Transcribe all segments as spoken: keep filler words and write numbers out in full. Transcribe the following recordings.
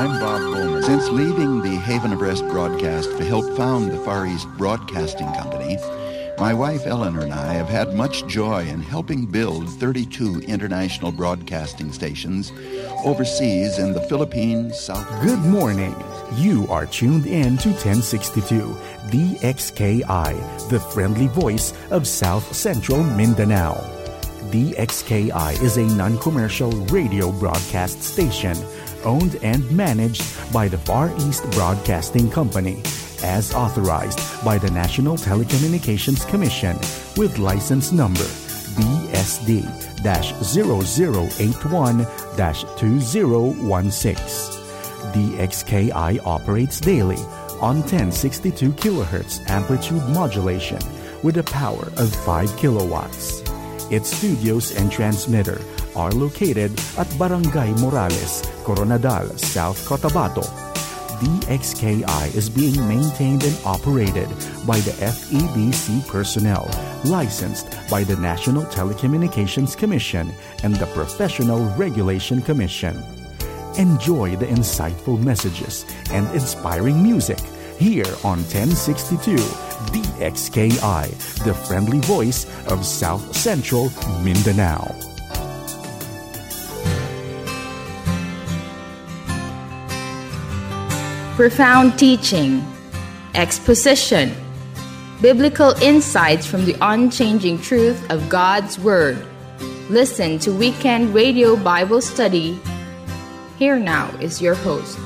I'm Bob Bowman. Since leaving the Haven of Rest broadcast to help found the Far East Broadcasting Company, my wife Eleanor and I have had much joy in helping build thirty-two international broadcasting stations overseas in the Philippines, South Good morning. You are tuned in to ten sixty-two D X K I, the friendly voice of South Central Mindanao. D X K I is a non-commercial radio broadcast station owned and managed by the Far East Broadcasting Company, as authorized by the National Telecommunications Commission, with license number B S D dash zero zero eight one dash two zero one six. D X K I operates daily on ten sixty-two kilohertz amplitude modulation with a power of five kilowatts. Its studios and transmitter are located at Barangay Morales, Koronadal, South Cotabato. D X K I is being maintained and operated by the F E B C personnel, licensed by the National Telecommunications Commission and the Professional Regulation Commission. Enjoy the insightful messages and inspiring music here on ten sixty-two D X K I, the friendly voice of South Central Mindanao. Profound teaching, exposition, biblical insights from the unchanging truth of God's Word. Listen to Weekend Radio Bible Study. Here now is your host.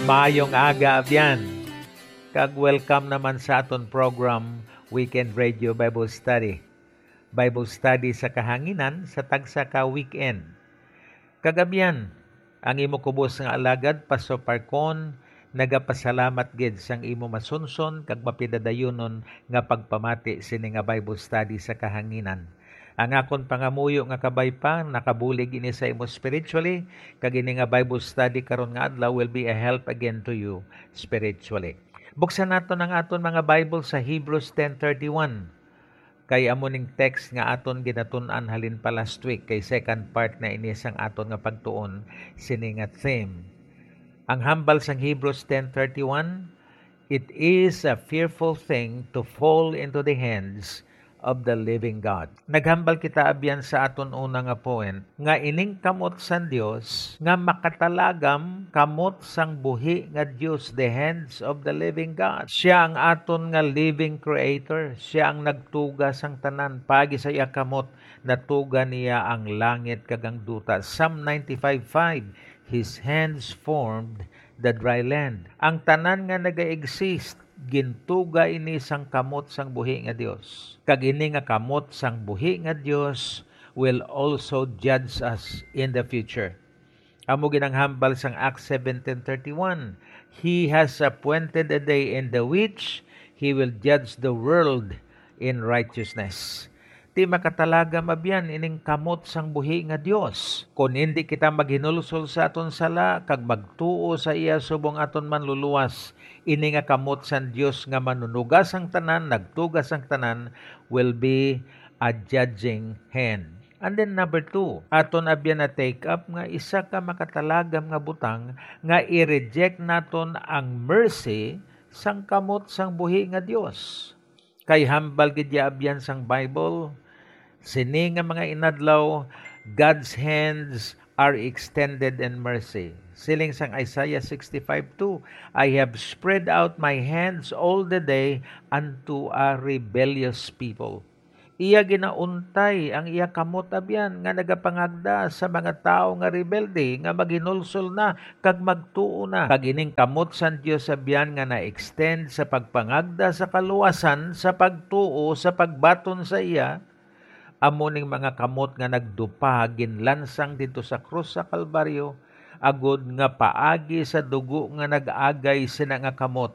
Maayong aga, abyan, kag welcome naman sa aton program, Weekend Radio Bible Study. Bible study sa kahanginan sa tagsa ka weekend. Kag abyan, ang imo kubos nga alagad, Pastor Parcon, nagapasalamat gid sang imo masunson kag mapidadayunon nga pagpamati sini nga Bible study sa kahanginan. Ang akon pangamuyo nga kabay pa nakabulig ini sa imo spiritually, kag ini nga Bible study karon nga adlaw will be a help again to you spiritually. Buksan naton ang aton mga Bible sa Hebrews ten thirty-one. Kay amo ning text nga aton ginatun-an halin pa last week, kay second part na ini sang aton nga pagtuon sini nga theme. Ang hambal sang Hebrews ten thirty-one, "It is a fearful thing to fall into the hands of the living God." Naghambal kita abyan sa aton una nga point nga ining kamot sang Dios nga makatalagam kamot sang buhi nga Dios, the hands of the living God. Siya ang aton nga living creator. Siya ang nagtuga sang tanan. Paagi sa iya kamot, natuga niya ang langit kag ang duta. Psalm ninety-five five, "His hands formed the dry land." Ang tanan nga naga-exist, gintuga ini sang kamot sang buhi nga Dios. Kag ini nga kamot sang buhi nga Dios will also judge us in the future. Amo gid ang hambal sang Acts seventeen thirty-one, "He has appointed a day in the which he will judge the world in righteousness." Ti makatalagam abyan ining kamot sang buhi nga Dios. Kon indi kita maghinulsol sa aton sala kag magtuo sa iya subong aton Manluluwas, ini nga kamot sang Dios nga manunuga sang tanan, nagtuga sang tanan, will be a judging hand. And then number two, aton abyan na take up nga isa ka makatalagam nga butang nga i-reject naton ang mercy sang kamot sang buhi nga Dios. Kay hambal gid ya abyan sang Bible, sini nga mga inadlaw, God's hands are extended in mercy. Siling sang Isaiah sixty-five two, "I have spread out my hands all the day unto a rebellious people." Iya ginauntay ang iya kamot abyan nga nagapangagda sa mga tawo nga rebelde nga maghinulsol na kag magtuo na. Kag ining kamot sang Dios abyan nga na-extend sa pagpangagda sa kaluwasan sa pagtuo, sa pagbaton sa iya, amo ning mga kamot nga nagdupa ginlansang didto sa krus sa Kalbaryo, agod nga paagi sa dugo nga nag-agay sina nga kamot,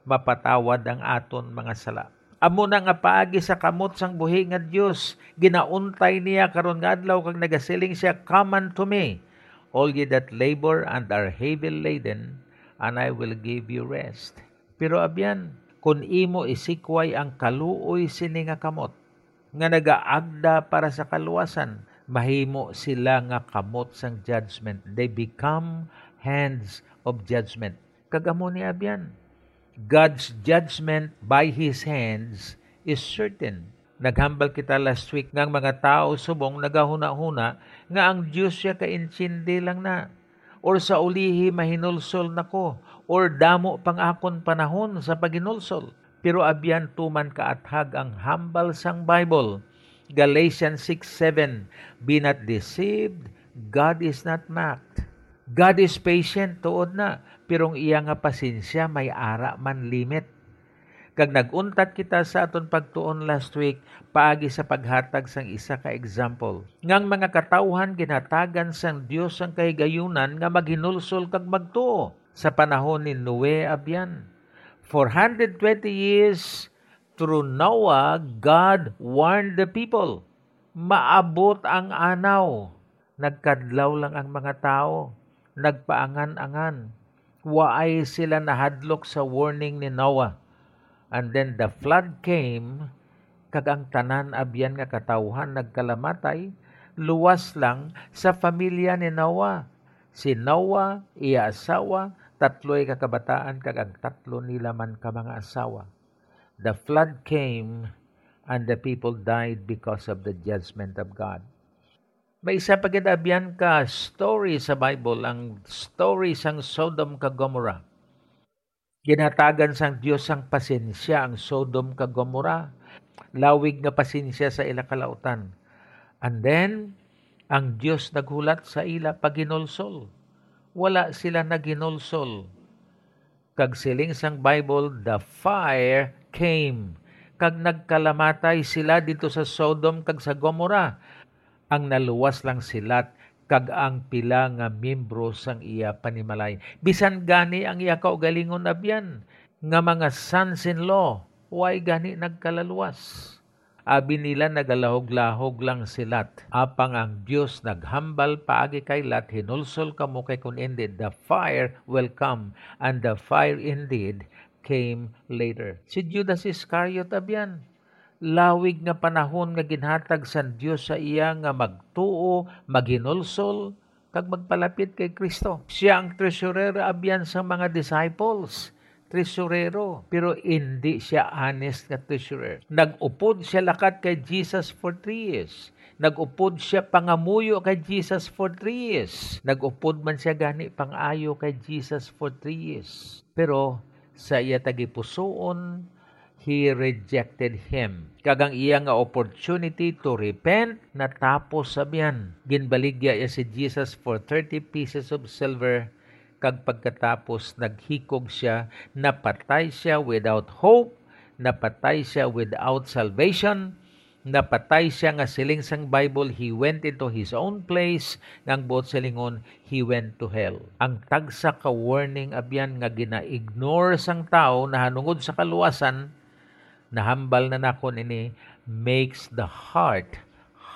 mapatawad ang aton mga sala. Amo na nga paagi sa kamot sang buhi nga Dios, ginauntay niya karon nga adlaw kag nagasiling siya, "Come unto me, all ye that labor and are heavy laden, and I will give you rest." Pero abyan, Kon imo isikway ang kaluoy sini nga kamot, nga nagaagda para sa kaluwasan, mahimo sila nga kamot sang judgment. They become hands of judgment. Kag amo ni abyan, God's judgment by His hands is certain. Naghambal kita last week nga ang mga tawo subong nagahunahuna nga ang Dios sia kaintindi lang na, or sa ulihi mahinulsol na ko, or damo pang akon panahon sa paghinulsol. Pero abyan, tuman kaathag ang hambal sang Bible. Galatians six seven, "Be not deceived, God is not mocked." God is patient, tuod na, pero ang iya nga pasensya may ara man limit. Kag nag-untat kita sa aton pagtuon last week paagi sa paghatag sang isa ka example, nga ang mga katawhan ginhatagan sang Dios ang kahigayunan nga maghinulsol kag magtuo. Sa panahon ni Noe abyan, four hundred twenty years through Noah, God warned the people. Maabot ang anaw. Nagkadlaw lang ang mga tawo, nagpaangan-angan. Waay sila nahadlok sa warning ni Noah. And then the flood came, kag ang tanan abyan nga katawhan nagkalamatay, luwas lang sa pamilya ni Noah. Si Noah, iya asawa, tatloy ka kabataan, kag ang tatlo nila man ka mga asawa. The flood came, and the people died because of the judgment of God. May isa pa gid abyan ka story sa Bible, ang story sang Sodom kag Gomorrah. Ginhatagan sang Dios sang pasensya ang Sodom kag Gomorrah, lawig nga pasensya sa ila kalautan. And then, ang Dios naghulat sa ila paghinulsol. Wala sila naghinulsol. Kag siling sang Bible, "The fire came," kag nagkalamatay sila didto sa Sodom kag sa Gomorrah. Ang naluwas lang si Lot kag ang pila nga miyembro sang iya panimalay. Bisan gani ang iya kaugalingon abyan nga mga sons-in-law, way gani nagkalaluwas. Abi nila, nagalahog-lahog lang si Lot. Apang ang Dios naghambal paagi kay Lot, "Hinulsol kamo, kay kon indi, the fire will come." And the fire indeed came later. Si Judas Iscariot abyan, lawig nga panahon nga ginhatag sang Dios sa iya nga magtuo, maghinulsol, kag magpalapit kay Cristo. Sia ang treasurer abyan sang mga disciples, treasurero, pero indi sia honest nga treasurer. Nag-upod sia lakat kay Jesus for three years. Nag-upod sia pangamuyo kay Jesus for three years. Nag-upod man sia gani pang-ayo kay Jesus for three years. Pero sa iya tagipusoon, he rejected him. Kag ang iya nga opportunity to repent natapos sa biyan. Ginbaligya iya si Jesus for thirty pieces of silver, kag pagkatapos naghikog sia, napatay sia without hope, napatay sia without salvation, napatay sia nga siling sang Bible, he went into his own place, nga ang buot silingon, he went to hell. Ang tagsa ka warning abyan nga gina-ignore sang tawo nahanungod sa kaluwasan, nahambal na nakon ini, makes the heart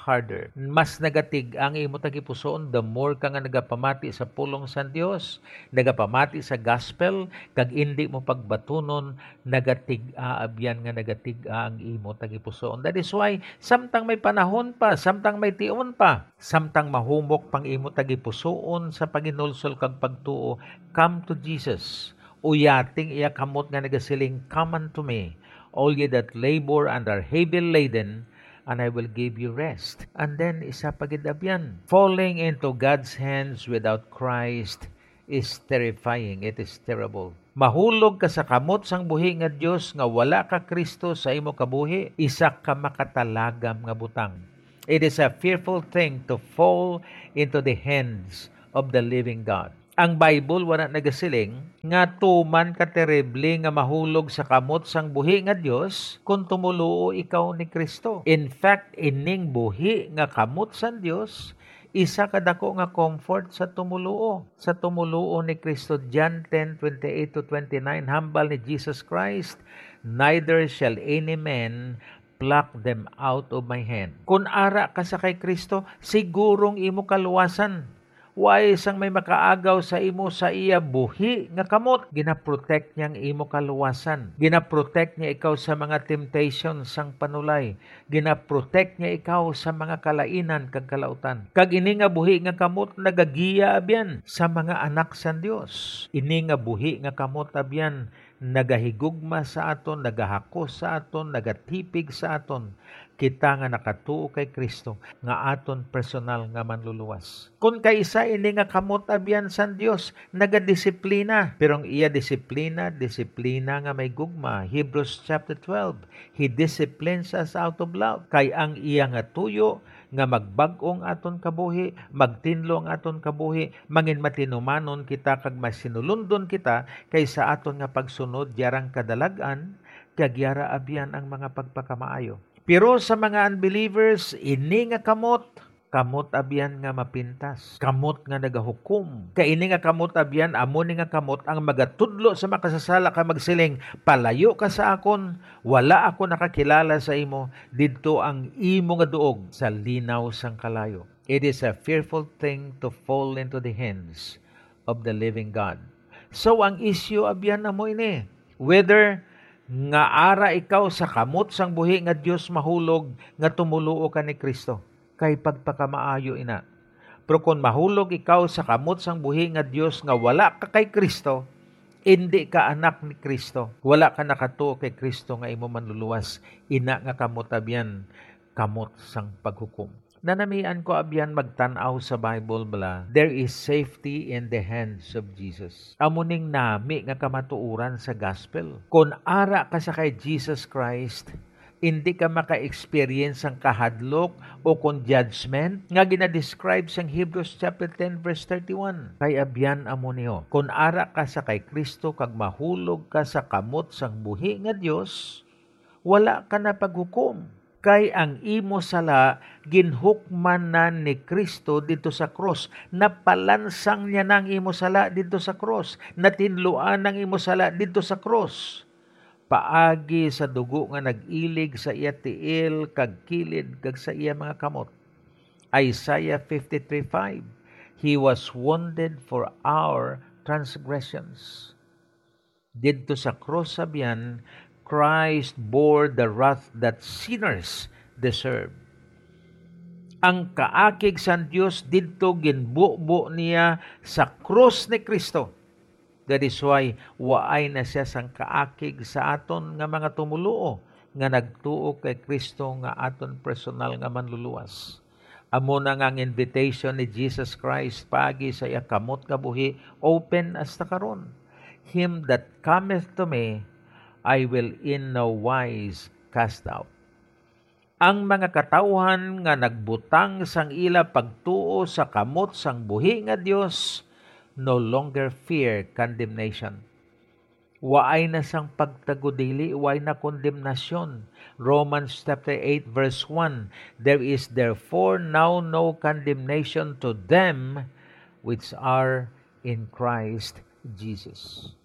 harder. Mas nagatig-a ang imo tagipusoon, the more ka nga nagapamati sa pulong sa Dios, nagapamati sa gospel, kag indi mo pagbatunon, nagatig-a abyan nga nagatig-a ang imo tagipusoon. That is why, samtang may panahon pa, samtang may tion pa, samtang mahumok pang imo tagipusoon sa paghinulsol kag pagtuo, come to Jesus. Uyating iya kamot nga nagasiling, "Come unto me, all ye that labor and are heavy laden, and I will give you rest." And then, isa pa gid abyan, falling into God's hands without Christ is terrifying. It is terrible. Mahulog ka sa kamot sang buhi nga Dios nga wala ka Kristo sa imo kabuhi, isa ka makatalagam nga butang. It is a fearful thing to fall into the hands of the living God. Ang Bible wala nagasiling nga tuman ka terrible nga mahulog sa kamot sang buhi nga Dios kon tumoluo ikaw ni Kristo. In fact, ining buhi nga kamot sang Dios isa ka dako nga comfort sa tumoluo. Sa tumoluo ni Kristo, John ten twenty-eight to twenty-nine, hambal ni Jesus Christ, "Neither shall any man pluck them out of my hand." Kun ara ka sa kay Kristo, sigurong imo kaluwasan. Way sang may makaagaw sa imo sa iya buhi nga kamot. Ginaprotect niya ang imo kaluwasan. Ginaprotect niya ikaw sa mga temptation sang panulay. Ginaprotect niya ikaw sa mga kalainan kag kalautan. Kag ini nga buhi nga kamot nagagiya abyan sa mga anak sang Dios. Ini nga buhi nga kamot abyan nagahigugma sa aton, nagahakos sa aton, nagatipig sa aton, kita nga nakatuo kay Cristo nga aton personal nga Manluluwas. Kon kaisa ini nga kamot abyan sang Dios, nagadisiplina, pero ang iya disiplina, disiplina nga may gugma. Hebrews chapter twelve, "He disciplines us out of love." Kay ang iya nga tuyo nga magbag-o ang aton kabuhi, magtinlo ang aton kabuhi, mangin matinumanon kita kag masinulundon kita kaysa aton nga pagsunod yarang kadalag-an, kag yara abyan ang mga pagpakamaayo. Pero sa mga unbelievers, ini nga kamot, kamot abyan nga mapintas, kamot nga nagahukom. Kay ini nga kamot abyan, amo ni nga kamot ang magatudlo sa makasasala kag magsiling, "Palayo ka sa akon, wala ako nakakilala sa imo, didto ang imo nga duog sa linaw sang kalayo." It is a fearful thing to fall into the hands of the living God. So, ang isyu abyan amo ini, whether nga ara ikaw sa kamot sang buhi nga Dios mahulog nga tumoluo ka ni Cristo, kay pagpakamaayo ina. Pero kon mahulog ikaw sa kamot sang buhi nga Dios nga wala ka kay Cristo, indi ka anak ni Cristo, wala ka nakatuo kay Cristo nga imo Manluluwas, ina nga kamot abyan, kamot sang paghukom. Nanamian ko abyan magtan-aw sa Bible bala, there is safety in the hands of Jesus. Amo ning nami nga kamatuoran sa gospel. Kon ara ka sa kay Jesus Christ, indi ka maka-experience sang kahadlok o kon judgment nga ginadescribe sang Hebrews chapter ten verse thirty-one. Kay abyan amo niyo, kon ara ka sa kay Cristo kag mahulog ka sa kamot sang buhi nga Dios, wala ka na paghukom. Kay ang imo sala ginhukman na ni Cristo didto sa krus. Napalansang niya na ang imo sala didto sa krus. Natinluan ang imo sala didto sa krus, paagi sa dugo nga nag-ilig sa iya tiil kag kilid kag sa iya mga kamot. Isaiah fifty-three five, "He was wounded for our transgressions." Didto sa krus, abyan, Christ bore the wrath that sinners deserve. Ang kaakig sang Dios didto ginbubo niya sa krus ni Cristo. That is why waay na sia sang kaakig sa aton nga mga tumoluo nga nagtuo kay Cristo nga aton personal nga Manluluwas. Amo na nga ang invitation ni Jesus Christ paagi sa iya kamot nga buhi, open hasta karon. "Him that cometh to me, I will in no wise cast out." Ang mga katawuhan nga nagbutang sang ila pagtuo sa kamot sang buhi nga Dios no longer fear condemnation. Waay na sang pagtagudili, waay na kondemnasyon. Romans chapter eight verse one, "There is therefore now no condemnation to them which are in Christ Jesus."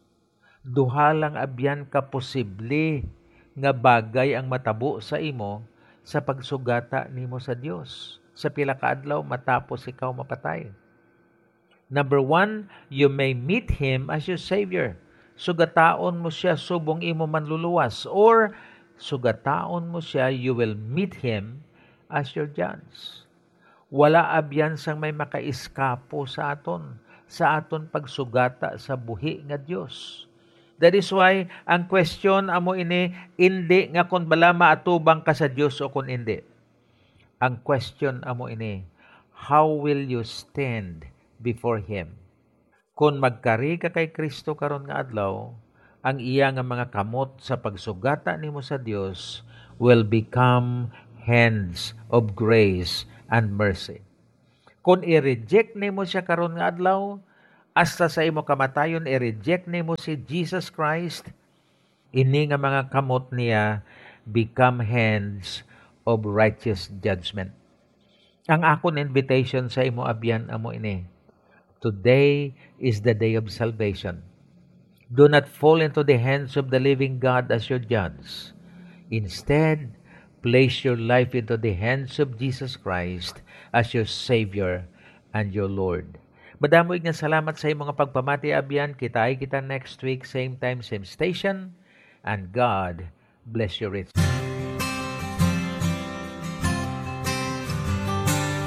Duha lang abyan ka posible nga bagay ang matabo sa imo sa pagsugata nimo sa Dios. Sa pila ka adlaw, matapos ikaw mapatay. Number one, you may meet Him as your Savior. Sugataon mo siya subong imo manluluwas, or sugataon mo siya, you will meet Him as your judge. Wala abyan sang may makaiskapo sa aton, sa aton pagsugata sa buhi nga Dios. That is why ang question amo ini, indi nga kon bala maatubang ka sa Dios o kon indi. Ang question amo ini, how will you stand before Him? Kon magkari ka kay Cristo karon nga adlaw, ang iya nga mga kamot sa pagsugata nimo sa Dios will become hands of grace and mercy. Kon i-reject nimo siya karon nga adlaw, hasta sa imo kamatayon i-reject nimo si Jesus Christ, ini nga mga kamot niya become hands of righteous judgment. Ang akon invitation sa imo abyan amo ini. Today is the day of salvation. Do not fall into the hands of the living God as your judge. Instead, place your life into the hands of Jesus Christ as your Savior and your Lord. Madamo nga salamat sa imong pagpamati, abyan. Kitai kita next week, same time, same station. And God bless you rich.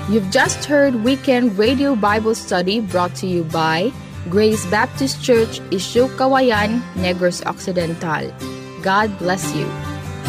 You've just heard Weekend Radio Bible Study brought to you by Grace Baptist Church, Isyo Kawayan, Negros Occidental. God bless you.